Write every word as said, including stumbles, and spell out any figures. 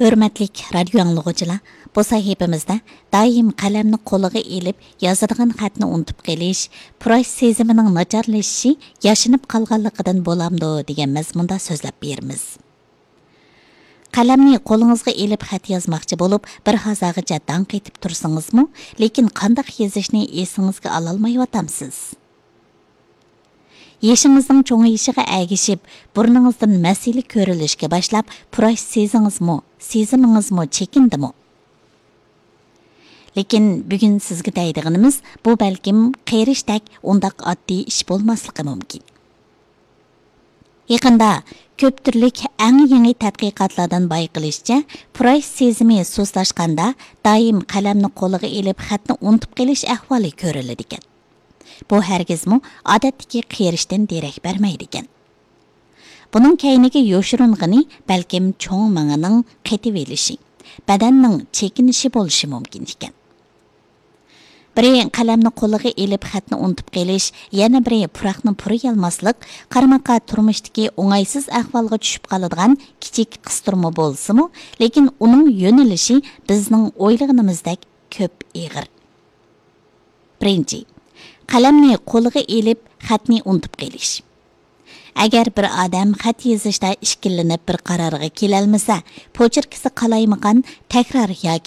ھۆرمەتلىك رادىيو ئاڭلىغۇچىلار، بۇ سەھىپىمىزدە دائىم قەلەمنى قولىغا ئېلىپ يازىدىغان خەتنى ئۇنتۇپ قېلىش، پۇراش سېزىمىنىڭ ناچارلىشىشى ياشىنىپ قالغانلىقىدىن بولامدۇ دېگەن مەزمۇندا سۆزلەپ بېرىمىز. قەلەمنى قولىڭىزغا ئېلىپ خەت يازماقچى بولۇپ، بىر ھازاغىچە داڭ قېتىپ تۇرسىڭىزمۇ، لېكىن قانداق يېزىشنى ئېسىڭىزگە ئالالمايۋاتامسىز؟ يېشىڭىزنىڭ چوڭىيىشىغا ئەگىشىپ، بۇرنىڭىزدىن مەسىلە كۆرۈلۈشكە باشلاپ، پۇراش سېزىڭىزمۇ، سېزىمىڭىزمۇ چېكىندىمۇ؟ لېكىن بۈگۈن سىزگە دەيدىغىنىمىز، بۇ بەلكىم قېرىشتەك ئۇنداق ئاددىي ئىش بولماسلىقى مۇمكىن. يېقىندا كۆپ تۈرلۈك ئەڭ يېڭى تەتقىقاتلاردىن بايقىلىشىچە، پۇراش سېزىمى سۇسلاشقاندا دائىم قەلەمنى قولىغا ئېلىپ خەتنى ئۇنتۇپ قېلىش ئەھۋالى كۆرۈلىدىكەن. بۇ ھەرگىزمۇ ئادەتتىكى قېرىشتىن دېرەك بەرمەيدىكەن. بۇنىڭ كەينىگە يوشۇرۇنغىنى بەلكىم چوڭ مېڭىنىڭ قېتىۋېلىشى، بەدەننىڭ چېكىنىشى بولۇشى مۇمكىن ئىكەن. بىرى قەلەمنى قولىغا ئېلىپ خەتنى ئۇنتۇپ قېلىش، يەنە بىرى پۇراقنى پۇرىيالماسلىق، قارىماققا تۇرمۇشتىكى ئوڭايسىز ئەھۋالغا چۈشۈپ قالىدىغان كىچىك قىستۇرما بولسىمۇ، لېكىن ئۇنىڭ يۆنىلىشى بىزنىڭ ئويلىغىنىمىزدەك كۆپ ئېغىر. بىرىنچى، قەلەمنى قولىغا ئېلىپ خەتنى ئۇنتۇپ قېلىش. ئەگەر بىر ئادەم خەت يېزىشتا ئىككىلىنىپ بىر قارارغا كېلەلمىسە، پوچېركىسى قالايمىقان، تەكرار ياكى